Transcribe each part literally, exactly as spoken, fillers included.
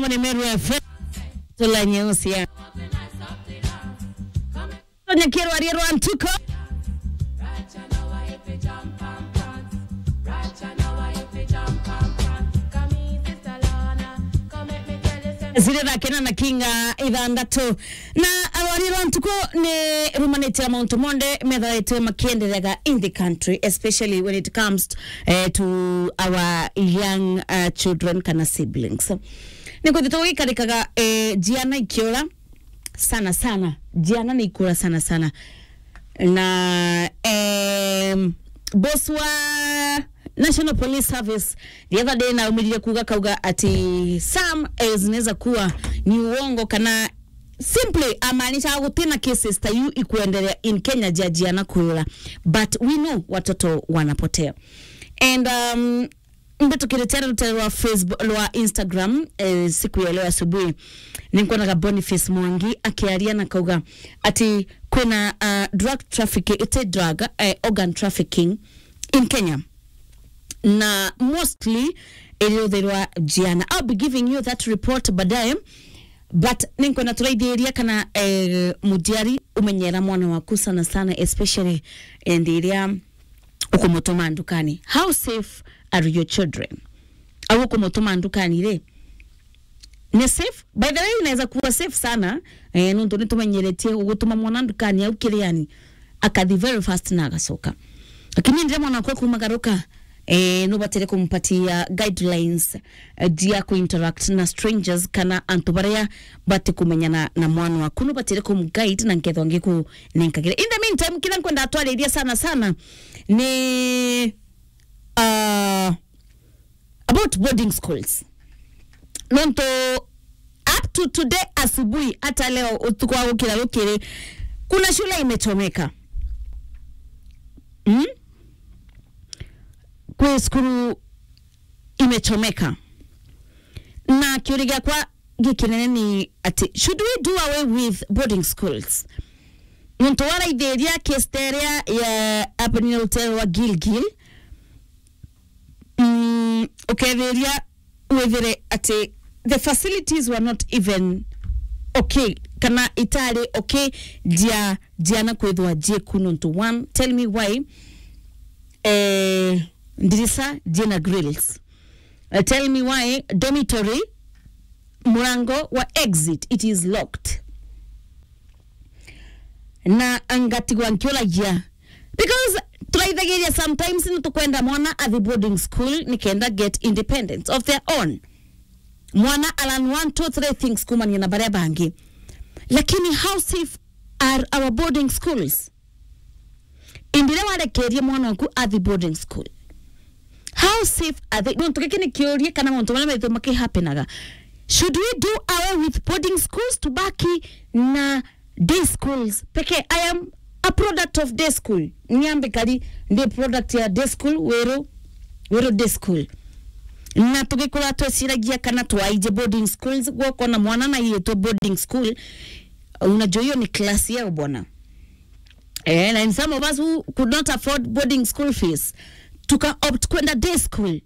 Mone Meru F M. Tula nyeusi ya. Tonyekirwa rie rwa ntuko. Ziri thaa kenda na kinga ithanthatu. Na arwari rwa ntuko ni rumanite na mauntu monthe methaitwe makienderega in the country, especially when it comes, eh, to our young, uh, children kana siblings. Ni kwithitwe gugikarikaga, eh, ciana ikiura sana sana. Ciana ni ikura sana sana. Na, em, boss wa National Police Service the other day naumirire kuuga kauga ati some, eh, zinaweza kuwa ni uongo kana simply amaanisha gutina cases ta iu ikuendelea in Kenya ja ciana kuura, but we know watoto wanapotea. And, um, mbitukirite rutere rwa Facebook, rwa Instagram, eh, siku ya leo asubuhi, ninkuonaga Boniface Mwangi akiaria na kauga ati kwina, uh, drug trafficking, iti drug, eh, organ trafficking in Kenya, na mostly iriuthirwa ciana. I'll be giving you that report baadaye, but ninkwenda turaithiria kana, eh, muciari umenyera mwana waku sana sana, especially, eh, ndi iria ukumutuma ndukani. How safe are your children? Au ukumutuma ndukani ri, ni safe? By the way, inaweza kuwa safe sana, eh, nontu nitumenyeretie ugutuma mwana ndukani au kiriani, akathi very fast na agacoka. Lakini ndire mwana wakwa kumagaruka, eh, nubatire kumpatia guidelines, eh, jia ku interact na strangers kana antu baria batikumenyana na mwana waku. Nubatire kumguide na nkethwa ngikunenkagira. In the meantime, kila nkwenda atwariria sana sana ni, uh, about boarding schools. Nontu up to today asubuhi, hata leo utuku wa gukira rukiri, kuna shule imechomeka. Mm? Kwi cukuru imechomeka. Na kiuria giakwa gikinene ni ati, should we do away with boarding schools? Nontu waraithiria case ta iria ya happening hotel wa Gilgil, mm, ukethiria withire ati the facilities were not even okay, kana itari okay, jia, jiana kwithwa jiku nontu one, tell me why, eh, ndirisa jina grills. Uh, tell me why dormitory murango wa exit, it is locked. Na ngatigwa nkiuragia, because turaithagiria sometimes ni tukwenda mwana athi boarding school nikenda get independence of their own. Mwana alan one, two, three things kumania na baria bangi. Lakini how safe are our boarding schools? Indire warekerie mwana waku athi boarding school, how safe are they? Nontu giki ni kiuria kana mauntu maria methirwa makihapenaga. Should we do away with boarding schools tubaki na day schools pekee? I am a product of day school. Niambe kari ndi product ya day school, Weru, Weru day school. Na tugikura tweciragia kana twaije boarding schools, gwokona mwana na yetwe boarding school, unajua hiyo ni class yao bwana. Eh, na in some of us who could not afford boarding school fees, tuka opt kwenda day school.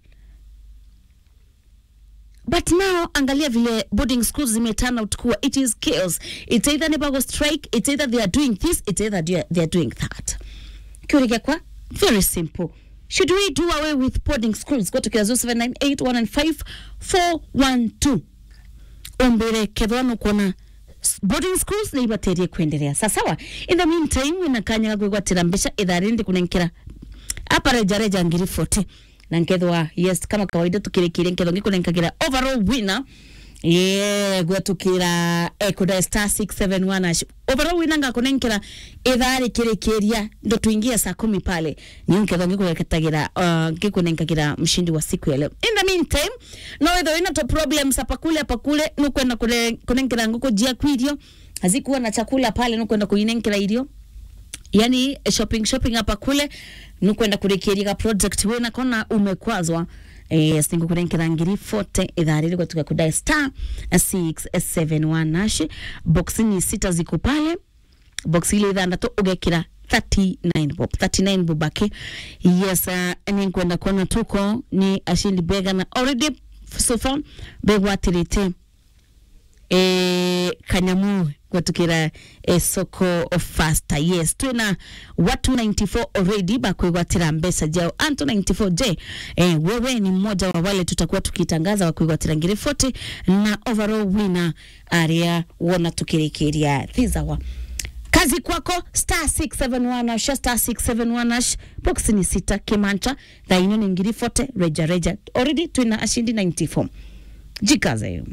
But now, angalia vile boarding schools zime turn out kuwa. It is chaos. It's either ni bago strike, it's either they are doing this, it's either they are, they are doing that. Kiuria giakwa, very simple. Should we do away with boarding schools? Go to zero seven nine eight one nine five four one two. Umbire kethwa nukwona s-, boarding schools ni ibaterie kwendelea. Sa sawa. In the meantime, wina kanya ga kwigwatira mbeca ithaa riri ndikunenkera apa reja reja ngiri forty. Na nkethwa, yes, kama kawaida tukirikiria, nkethwa ngikunenkagira overall winner. Yeah, gwetukira, eh, kuda star six seven one hash. Overall winner ngakunenkera ithaa rikirikiria, ndo tuingia saa kumi pale. Ni nkethwa ngikugetagira, uh, ngikunenkagira mshindi wa siku ya leo. In the meantime, no withwe wina to problems hapa kule, hapa kule, nukwenda kune-, kunenkera nguku jiaku irio, hazikuwa na chakula pale, nukwenda kuinenkera irio. Yani, shopping, shopping hapa kule, nukwenda kurikiria ga project wina kona umekwazwa. Eh, yes, ningukunenkera ngiri forty ithaa riri gwetuka kuda star six seven one hash. Box ni sita ziko pale. Box ile ithanthatu ugekira thirty-nine bob. Thirty-nine bob aki. Yes, uh, ni nkwenda kuona tuko ni ashindi bega na already so far begwatirite eh, kanyamu gwatukira, eh, soko faster. Yes, twina watu ninety-four already bakwigwatira mbeca jao. Antu ninety-four je, eh, wewe ni mmoja wa wale tutakuwa tukitangaza wa kwigwatira ngiri forty na overall winner aria wona tukirikiria thizawa. Kazi kwako, star six seven one hash, star six seven one hash, box ni sita kimancha, thaino ni ngiri forty, reja reja. Already twina ashindi ninety-four. Jikaze.